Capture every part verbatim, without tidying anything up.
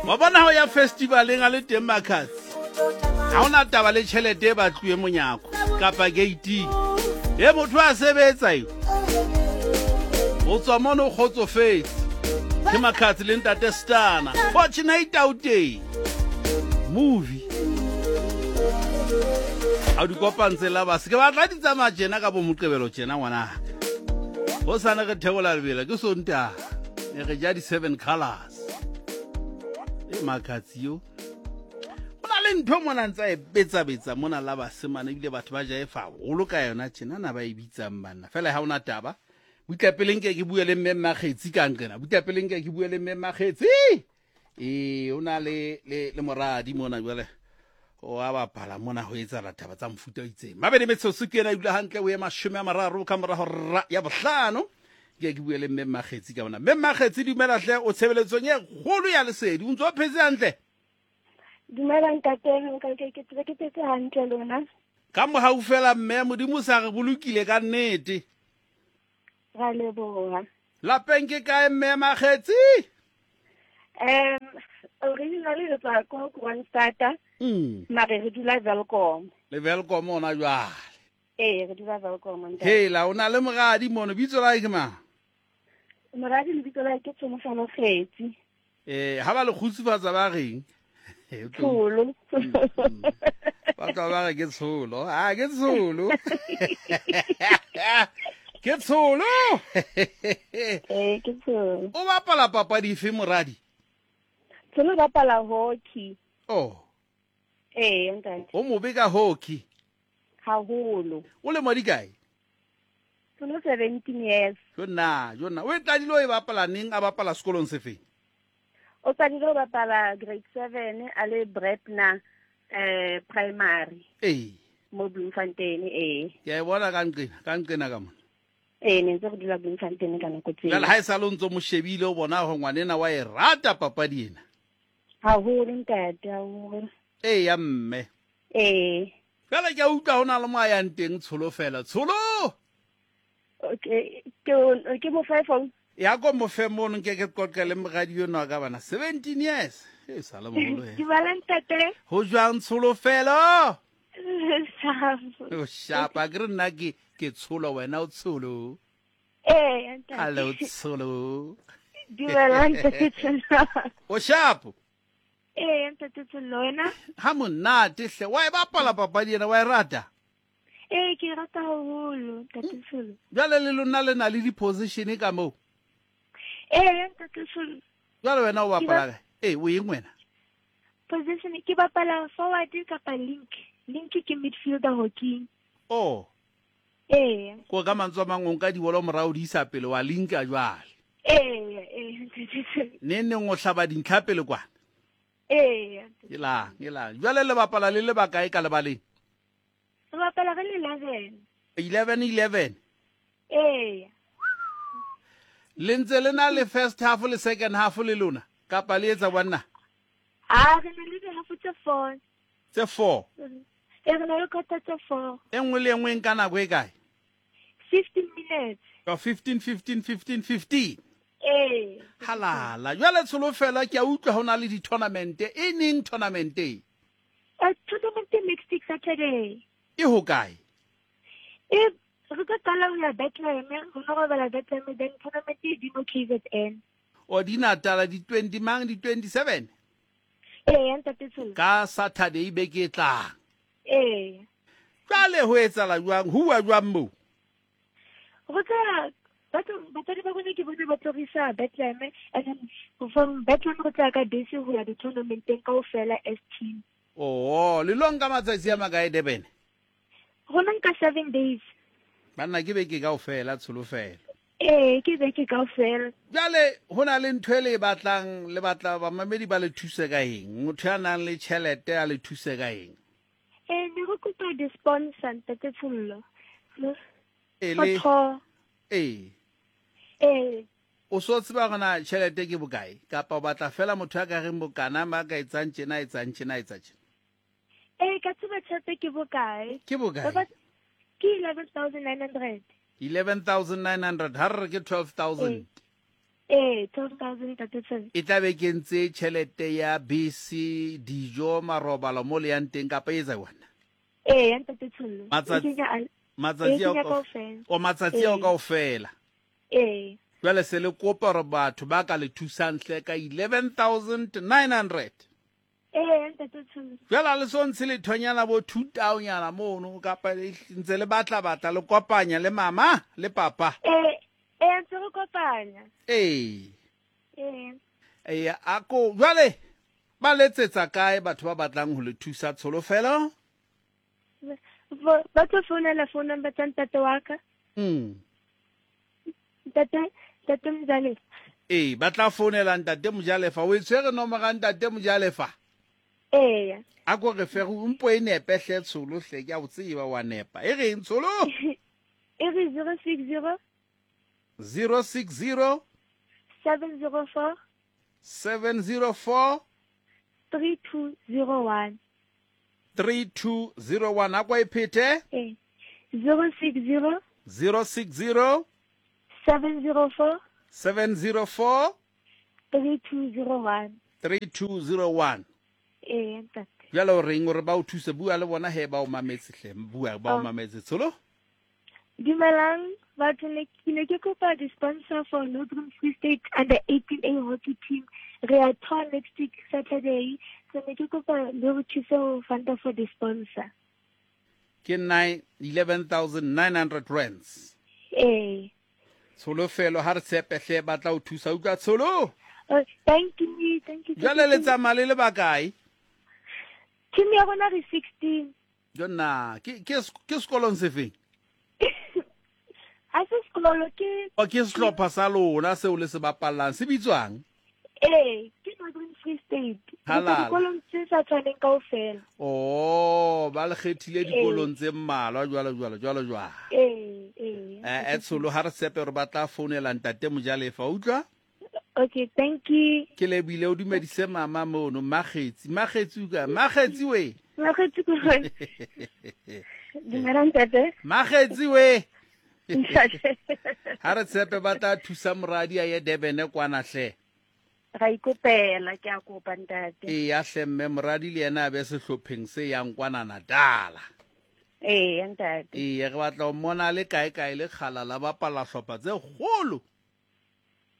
Wa bona ho ya festivaleng a le teng Makhadzi, ha hona taba le tjhelete e batluwe monyako kapa gate. E motho a sebetsa eo. O tswa mono o kgotsofetse. Ke Makhadzi le ntate Stana. Fortunate Auteng. Movie. A di kopantse la ba se ke batla di tsamaya tjena ka bo Moqebelo tjena ngwanaka. Ho sane re theola lebela ke Sontaha. Ne re ja di seven colors. E Makhadzi yo. Ho na le ntho mona ntsa e betsa-betsa mona la basemane ebile batho ba jaefa haholo ka yona tjena na ba e bitsang banna. Fela ha hona taba. Butla pele nke ke bue le mme Makgetsi ka nqena. Butla pele nke ke bue le mme Makgetsi. E o na le le le moradi mona jwale. O a bapala mona ho etsahala taba tsa mofuta o itseng. Mabedi metsotso ke ena e dula hantle o ye mashome a mararo ka mora hora ya bohlano. Ke ke bue le mme Makgetsi ka bona. Mme Makgetsi dumela hle o tshebeletsong e kgolo ya lesedi. O ntso o phetse hantle? Dumela ntate, nka ke ke tsebe ke phetse hantle lona. Ka mohau fela mme Modimo sa re bolokile ka nnete. Ra leboha. Lapeng ke kae mme Makgetsi? Um originally re tswa ko Kroonstad, Mm. mare re dula Welkom. Le Welkom ona jwale. Ee, re dula Welkom ntate. Hela o na le moradi mono bitso la hae ke mang? Moradi lebitso la hae ke Tsholofelo Kgetsi. Eh ha ba le kgutsufatsa ba reng? Eh, o tlo- Tsholo. Ba tla ba re ke tsholo. Ah ke tsholo. Ke tsholo. Ee, ke Tsholo. O bapala papadi efe moradi? Tsholo o bapala hockey. Oh, Ee, ntate. o mobe ka hockey. Haholo. O lemo di kae? Tsholo seventeen years. Jo nna, jo nna. O e qadile o e bapala neng a bapala sekolong sefeng? O qadile ho bapala grade seven a le Brebner eh primary Ee. mo Bloemfontein ee. Ke a e bona ka nqena, ka nqena ka mona. Ee, ne ntse re dula Bloemfontein ka nako tseo. Jwale ha e sale o ntso mo shebile o bona hore ngwanena wa e rata papadi ena. Haholo ntate, haholo. Ee ya mme. Ee. Jwale ke a utlwa ho na le mo a yang teng Tsholo fela. Tsholo! Okay, ke ke mo fa phone. Ya ko mo fe mono nke ke qoqe le moradi enwa wa ka bana. seventeen years. E sa le moholo he. Dumela ntate. Ho jwang Tsholofelo? Sharp. O shapa ke re nna ke ke Tsholo wena o Tsholo. Ee, ntate. Hello Tsholo. Dumela ntate Tsholo. O sharp. Ee, ntate Tsholo wena? Ha monate hle. Wa e bapala papadi ena wa e rata? Ee, ke e rata haholo ntate Tsholo. Jwale le lona le na le di-position ka moo? Ee, ntate Tsholo. Jwale wena o Ke bapala ba- kae? Ee, o eng wena? Position ke bapala forward kapa link. Link ke midfielder hockey. Oh, Ee. ko ka mantswe a mang o nka dibolo morao di isa pele wa linka jwale. Ee, ee, ntate Tsholo. Neng neng o hlaba dintlha pele kwana. Ee. Ke lang, ke lang. Jwale le bapala le le bakae ka lebaleng? Re bapala re le eleven. eleven eleven. Ee. Le ntse le na le first half le second half le lona kapa le etsa banna? Ah, re na le di-half tse four. Tse four. Ee, re na le quarter tse four. E nngwe le e nngwe e nka nako e kae? Fifteen minutes. Ka fifteen, fifteen, fifteen, fifteen. Ee. Halala. Jwale Tsholofelo ke a utlwa ho na le di-tournament. E neng tournament e? Uh, tournament next week Saturday. E ho kae? E re tlo qala ho ya Bethlehem, re no robala Bethlehem, then tournament e di mo K Z N. O di Natala di twenty mang di twenty-seven? Ee, ntate Tsholo. Ka Saturday beke e tlang. Ee. Jwale ho etsahala jwang? Ho uwa jwang moo? Re tla batho batswadi ba rona ke bone ba tlo re isa Bethlehem, and then from Bethlehem re tla ka bese ho ya di-tournamenteng kaofela as team. Oh, le lo nka matsatsi a makae Durban? Rona nka seven days. Banna ke beke kaofela Tsholofelo. Ee, ke beke kaofela. Jwale ho na le ntho e le e batlang, le batla bamamedi ba le thuse ka eng? Motho ya nang le tjhelete a le thuse ka eng? Ee, ne re kopa di-sponsor ntate Tsholo. E For le tour. Ee. Ee. O so tseba hore na tjhelete ke bokae? Kapa o batla fela motho ya ka reng bokana ba ka etsang tjena, etsang tjena, etsa tjena? Ee, ka tseba tjhelete ke bokae. Ke bokae? Ba ba ke eleven thousand nine hundred. eleven thousand nine hundred. Ha re re ke twelve thousand. Ee, twelve thousand ntate Tsholo. E tla be kentse tjhelete ya bese, dijo, marobalo mo le yang teng kapa e etsa wena? Ee, ya ntate Tsholo. Matsatsi matsatsi ao kaofela. O matsatsi ao kaofela. Ee. Jwale se le kopa hore batho ba ka le thusang hle ka eleven thousand nine hundred. Ee, ntate Tsholo. Jwale ha le so ntshe lethonyana bo two thousand mono kapa ntse le batla batla le kopanya le mama le papa. Ee. Ee, ntse re kopanya. Ee. Ee. Ee, ako jwale ba letsetsa kae batho ba batlang ho le thusa Tsholofelo? Ba tlo founela phone number tsa ntate wa ka. Mm. Ntate, ntate Mojalefa. Ee, ba tla founela ntate Mojalefa. O e tshwere nomoro ya ntate Mojalefa? Ee. A ko re fe o mpo e nepe hle Tsholo hle, ke a o tseba wa nepa. E reng Tsholo? E re zero six zero zero six zero seven zero four seven zero four three two zero one three two zero one. A kwa e phete? Ee. zero six zero zero six zero seven zero four seven zero four three two zero one three two zero one. Ee, ntate. Jwale o reng hore ba o thuse? Bua le bona he ba o mametse hle. Bua ba o mametse Tsholo. Dumelang batho, ne ke ne ke kopa di-sponsor for Northern Free State under eighteen A hockey team. Re a tour next week Saturday, so ne ke kopa le re thuse ho funda for the sponsor. Ke nine eleven thousand nine hundred rands. Ee. Tsholofelo ha re tshepe hle ba tla o thusa. Utlwa Tsholo? Oh, thank you, thank you. Jwale le tsamaya le le bakae? Team ya rona re sixteen. Jonna, ke ke ke sekolong sefeng? Ha se sekolo, ke O ke sehlopha sa lona seo le se bapallang se bitswang? Ee, ke Northern Free State. Halala. Dikolong tse sa tshwaneng kaofela. Oh, ba le kgethile dikolong tse mmalwa jwalo jwalo jwalo jwalo. Ee, ee. Eh, Tsholo ha re tshepe hore ba tla founela ntate Mojalefa, utlwa? Okay, thank you. Ke lebile o dumedise mama mono, Makgetsi. Makgetsi o kae? Makgetsi we. Makgetsi ko kae? Dumela ntate. Makgetsi we. Ha re tshepe ba tla thusa moradi a ye Durban kwana hle. Ra ikopela, ke a kopa ntate. Ee, ya hle mme moradi le yena a be sehlopheng se yang kwana Natala. Ee, ntate. Ee, re batla ho mmona le kae kae le kgala la bapala hlopha tse kgolo.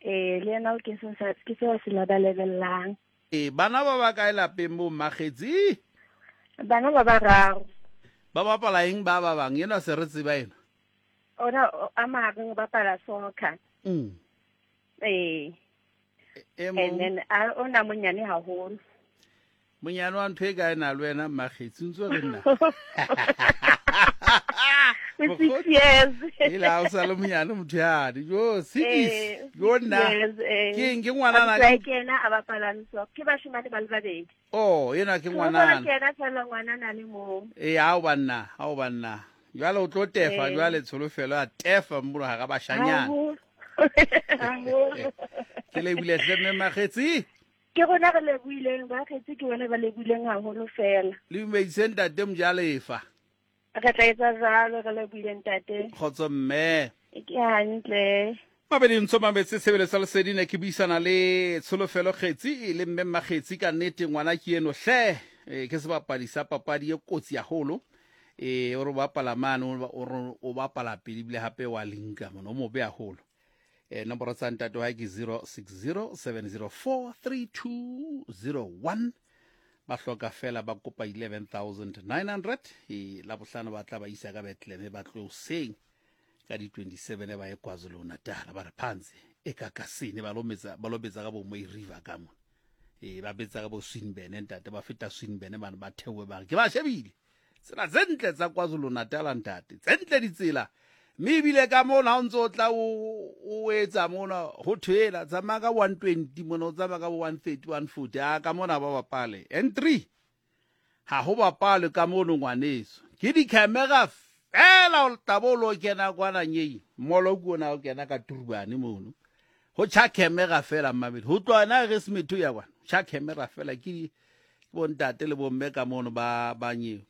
Ee, le yena ke se ke se se labalebellang. Ee, bana ba ba kae lapeng bo Makgetsi? Bana ba bararo. Ba bapala eng ba ba bang? Ena se re tseba ena. Ona a mareng ba bapala soccer. Mm. Ee. And then a ona monyane haholo. Monyane wa ntho e kae na le wena Makgetsi ntse re nna? Six years. Ila o sa le monyane motho yane. Jo, six. Jo nna. Ke eng ke ngwanana? Ke yena a bapalang soccer. Ke bashimane ba le babedi. Oh, yena ke ngwanana. Ke yena fela ngwanana le mong. Ee, ha o banna, ha o banna. Jwale o tlo tefa jwale Tsholofelo a tefa mmono hara bashanyana. Ke lebile hle mme Makgetsi. Ke rona re lebohileng, Bakgetsi ke bona ba lebohileng haholo fela. Le dumedise ntate Mojalefa. Re tla etsa jwalo, re lebohile ntate. Kgotso mme. Ke hantle. Mabedi ntso mametse tshebeletso lesedi ne ke buisana le Tsholofelo Kgetsi le mme Makgetsi. Ka nnete ngwana ke eno hle, ke sebapadi sa papadi e kotsi haholo. E o re bapala mane o o bapala pele ebile hape wa linka mona o mobe haholo. E nomoro tsa ntate wa hae ke zero six zero seven zero four three two zero one. Ba hloka fela ba kopa eleven thousand nine hundred. E la bohlano ba tla ba isa ka Bethlehem ba tlo hoseng ka di twenty-seven ba ye KwaZulu Natal ba re phansi e kakasini ba lometsa ba lobetsa ka bo Mooi River ka mona. E ba betsa ka bo Swinburne ntate ba feta Swinburne bana ba theohe ba re ke ba shebile. Tsela tse ntle tsa KwaZulu Natal ntate, tse ntle ditsela. Mme ebile ka mona ha o ntso tla o o etsa mona ho thwela tsamaya ka one twenty mona o tsamaya ka one thirty one forty a ka mona ba bapale N three ha ho bapale ka mono ngwaneso ke di-camera fela o tla bo lo kena kwana nyei molo ke ona o kena ka Turbane mono ho tjha camera fela mmabedi ho tloha na re Smetho ya kwana tjha camera fela ke bontate le bomme ka mono ba ba nyeo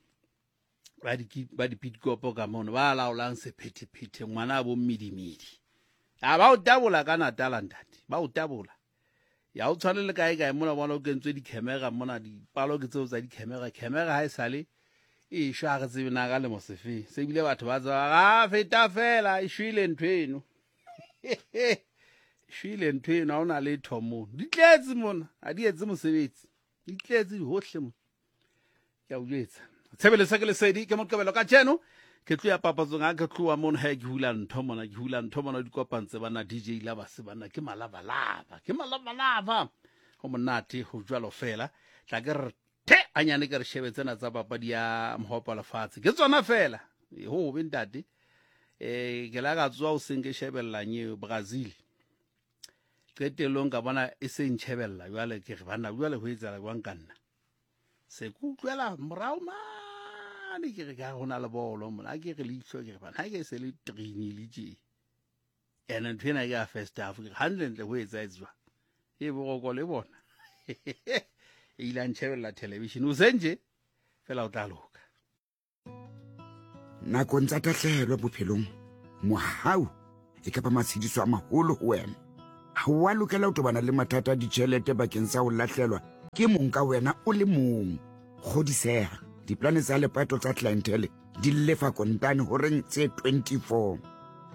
ba di ba di pitkopo ka mono ba laolang sephethephethe ngwana bo mmidimidi A ba o tabola ka Natala ntate, ba o tabola. Ya o tshwane le kae kae mona bona o kentswe di-camera mona, dipalo ke tseo tsa di-camera. Camera ha e sale e shwa, re tsebe na ka lemo sefeng. Se ebile batho ba tseba ga feta fela e shwele ntho eno. E shwele ntho eno, ha ona letho mono. Di tletse mona, ha di etse mosebetsi. Di tletse hohle mona. Ke a o jwetsa. Tshebeletso ke Lesedi ke Moqebelo kajeno. Ke tlo ya papatsong ha ke tloha mono, ha ke hula ntho mona, ke hula ntho mona, di kopantse bana D J la ba se bana ke malabalaba, ke malabalaba. Ho monate ho jwalo fela. Tla ke re the anyane ke re shebe tsena tsa papadi ya mohopa lefatshe. Ke tsona fela. E ho be ntate. Eh ke la ka tswa o seng ke shebella nye Brazil. Qetellong ka bona e se ntshebella jwale ke re bana jwale ho etsahala jwang ka nna. Se kutlwela morao ma ne ke re ka hona le bolo mona, ke re leihlo ke re bana ha ke se le training le tje. Ene ntho ena ke ya first half ke hantle ntle ho etsa etswa. E boroko le bona. E ile a ntshebella television o senje fela o tla loka. Nakong tsa tahlehelo bophelong, mohau e kapa matshediso a maholo ho wena. Ha o a lokela ho tobana le mathata a ditjhelete bakeng sa ho lahlelwa ke mong ka wena o le mong. Kgodiseha, diplane tsa lepato tsa clientele di lefa kontane horeng tse twenty-four.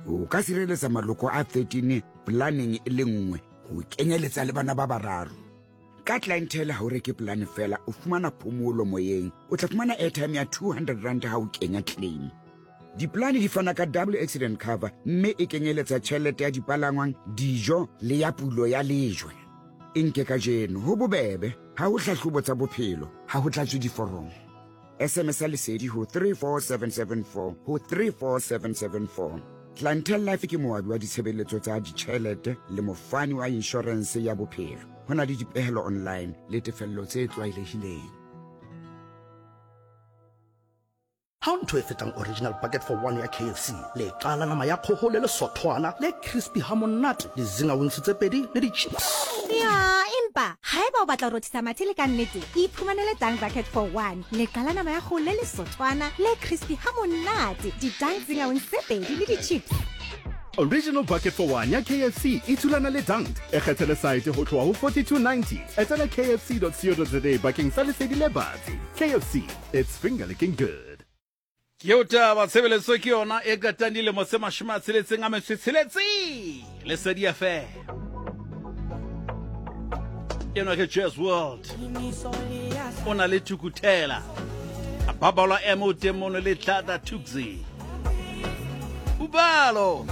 O ka sireletsa maloko a thirteen planeng e le nngwe ho kenyeletsa le bana ba bararo. Ka clientele ha o reke plane fela, o fumana phomolo moyeng. O tla fumana airtime ya two hundred rand ha o kenya claim. Diplane di fana ka double accident cover mme e kenyeletsa tjhelete ya dipalangwang, dijo le ya pulo ya lejwe. E nke kajeno ho bobebe, ha ho hlahlobo tsa bophelo, ha ho tlatswe diforomo. S M S Lesedi ho three four seven seven four ho three four seven seven four. Clientele Life ke moabi wa ditshebeletso tsa ditjhelete le mofani wa insurance ya bophelo. Ho na le dipehelo online le tefello tse tlwaelehileng. Ha ntho e fetang original bucket for one ya K F C, le qala nama ya kgoho le lesothwana le crispy ha monate, le zinga wings tse pedi le di-chips. Ya, empa haeba o batla ho rothisa mathe le ka nnete, iphumanele Dunk Bucket for one, le qala nama ya kgoho le lesothwana le crispy ha monate, di-Dunk zinga wings tse pedi le di-chips. Original Bucket for One ya K F C e thulana le Dunked. E kgethele site ho tloha ho forty-two ninety. Etela K F C dot co dot za bakeng sa lesedi le batsi. K F C, it's finger licking good. Ke o taba tshebeletso ke yona e qetang dilemo tse mashome a tsheletseng a metso e tsheletseng. Lesedi F M. Eno ke Jazz World. O na le Thukuthela. A babalwa M o teng mono le Tlata Thukzi. Ubalo.